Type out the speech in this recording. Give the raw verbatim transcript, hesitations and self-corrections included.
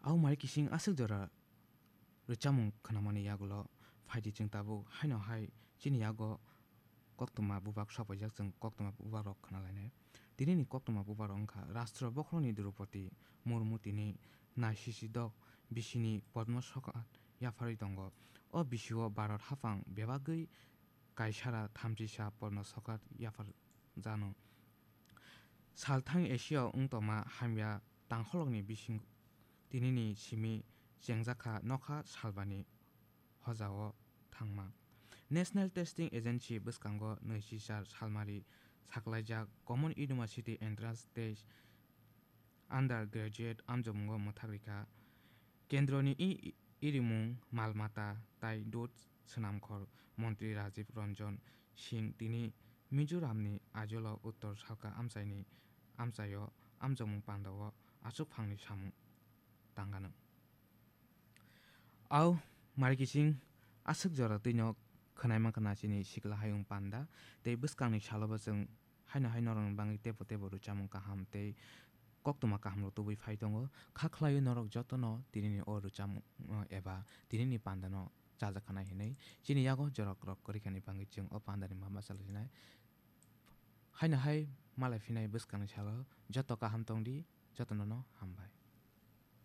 Au mari kising aswk jora rwchapmung khwnamani yagulo phaidi chwng tabuk haino hai chini yago koktwma bubak sokpaijak, chwng koktwma bubak rok khwnalainai. Tinini koktwma bubak rok wngkha Rashtra bokhorokni Droupadi Murmu, tini naisisi dok bisini Padma Sokar yapharwi tongo. O bisio Bharat haphang bebagwi kaisara thamchisa Padma Sokar yapharjano. Salthang Asia wngtoma hamya tangkholokni bising tinini simi chengjakha nokha salbani hojao thangma. National Testing Agency bwskango naichi char salmari saklaijak Common University Entrance Test Undergraduate amjomungo mwthak rikha. Kendroni i-, irimung, mal mata tai dot swnamkhor montri Rajiv Ranjan Singh tini Mizoramni Aizawl-o Uttor Salka amchaini amchaio amjokmung pandao aswk phangni samung tangganw. Au mari kising aswk jora twino khwnaima khwna chini sikla hayung panda tei bwskangni salobo chwng haino hai norokni bagwi teibo teibo rwchapmung kaham tei koktwma kahamrok tubui phai tongo. Kha khlaio norok jotono tinini o rwchapmung, uh, eba tinini pandano chajak khanai hinwi. Chini yago jorok rok kwrwi khani bagwi chwng o pandani ma bachalainai. Haino hai malai phinai bwskangni salo joto kaham tongdi, jotono no hambai.